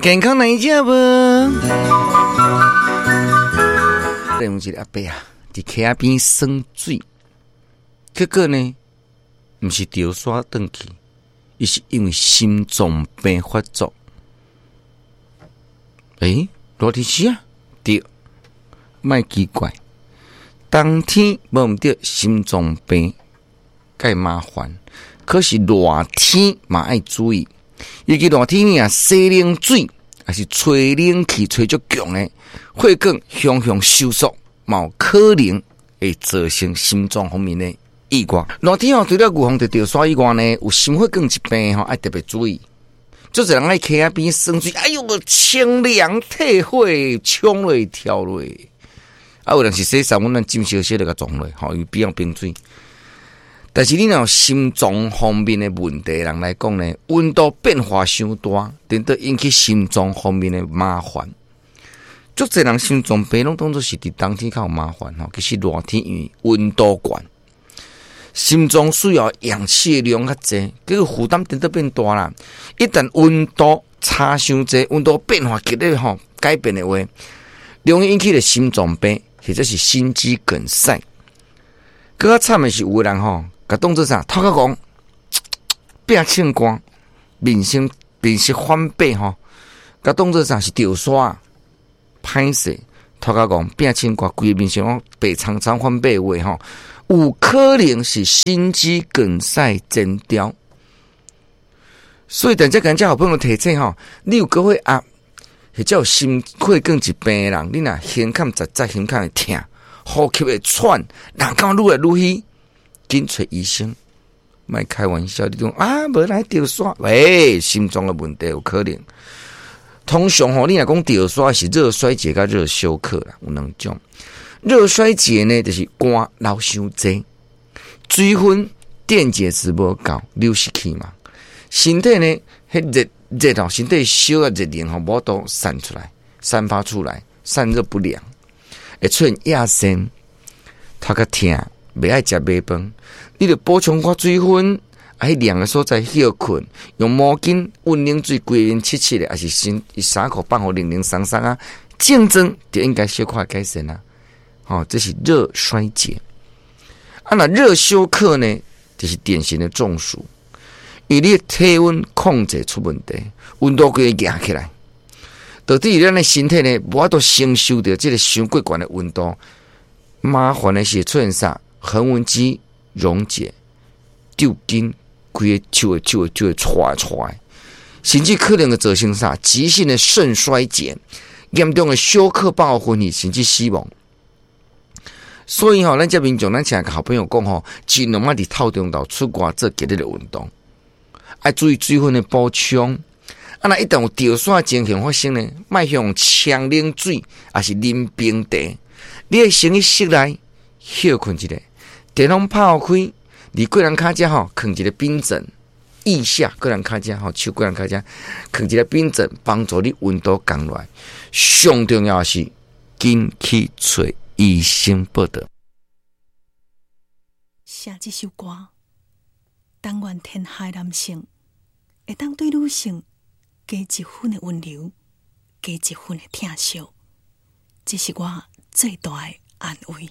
健康來食無？有一個阿伯啊，佇溪仔邊耍水，結果呢，毋是著沙轉去，伊是因為心臟病發作。欸，熱天時啊，對，莫奇怪，冬天無毋對，心臟病較麻煩，可是熱天嘛愛注意，尤其熱天啊，洗冷水，抑是吹冷氣吹足強的，血管向向收縮，嘛有可能會造成心臟方面的意外。熱天吼，除了預防著著沙以外呢，有心血管疾病吼，愛特別注意。足濟人愛溪仔邊耍水，哎喲，清涼退火，衝落跳落。啊，有人是洗衫，阮咱浸小小就共撞落，吼，因為比較冰水。但是你若有心臟方面的問題人來講呢，溫度變化傷大，顛倒引起心臟方面的麻煩。足濟人心臟病攏當做是佇冬天較有麻煩吼，其實熱天因為溫度懸，心臟需要氧氣的量較濟，結果負擔顛倒變大啦。一旦溫度差傷濟，溫度變化劇烈吼，改變的話，容易引起的心臟病或者是心肌梗塞。閣較慘的是有的人吼，共當做啥？頭殼戇，變青光，面色面色反白吼，共當做啥？是著沙，歹勢，頭殼戇，變青光，規个面色攏白蒼蒼反白話吼，有可能是心肌梗塞前兆。所以，等這跟這好朋友提醒吼，你有高血壓或者有心血管疾病的人，你若胸坎實在胸坎會疼，呼吸會喘，人感覺愈來愈虛，緊揣醫生，莫開玩笑，你講啊，無來著沙，喂，心臟的問題有可能。通常吼，你若講著沙是熱衰竭佮熱休克啦，有兩種。熱衰竭呢，就是汗流傷濟，水分電解質無夠，流失去嘛。身體呢，彼熱熱吼，身體燒啊熱能吼，無法度散出來，散發出來，散熱不良，會出現亞神，頭殼疼，袂愛食白飯，你著補充寡水分，啊，彼涼的所在歇睏，用毛巾溫冷水規面拭拭咧，抑是身衫褲放予涼涼鬆鬆啊，症狀就應該小可改善啊。吼，這是熱衰竭。啊，若熱休克呢，就是典型的中暑。因為你的體溫控制出問題，溫度規個壓起來，導致咱的身體呢，無法度承受著這個傷過懸的溫度。麻煩的是出現啥？橫紋肌溶解，抽筋，規个手會手會手會掣掣，甚至可能會造成啥？急性的腎衰竭，嚴重的休克爆昏去，甚至死亡。所以吼，咱這民眾，咱成日共好朋友講吼，盡量莫佇透中晝出外做激烈的運動。愛注意水分的補充。啊，若一旦有著沙情形發生呢，莫用沖冷水，抑是啉冰茶。你愛先去室內歇睏一下，電風拍開，佇過人跤遮吼，囥一个冰枕，腋下過人跤遮吼，手過人跤遮，囥一个冰枕，幫助你溫度降落來。上重要的是，緊去揣醫生報到。寫這首歌，但願天下的男性會當對女性加一分的溫柔，加一分的疼惜，這是我最大的安慰。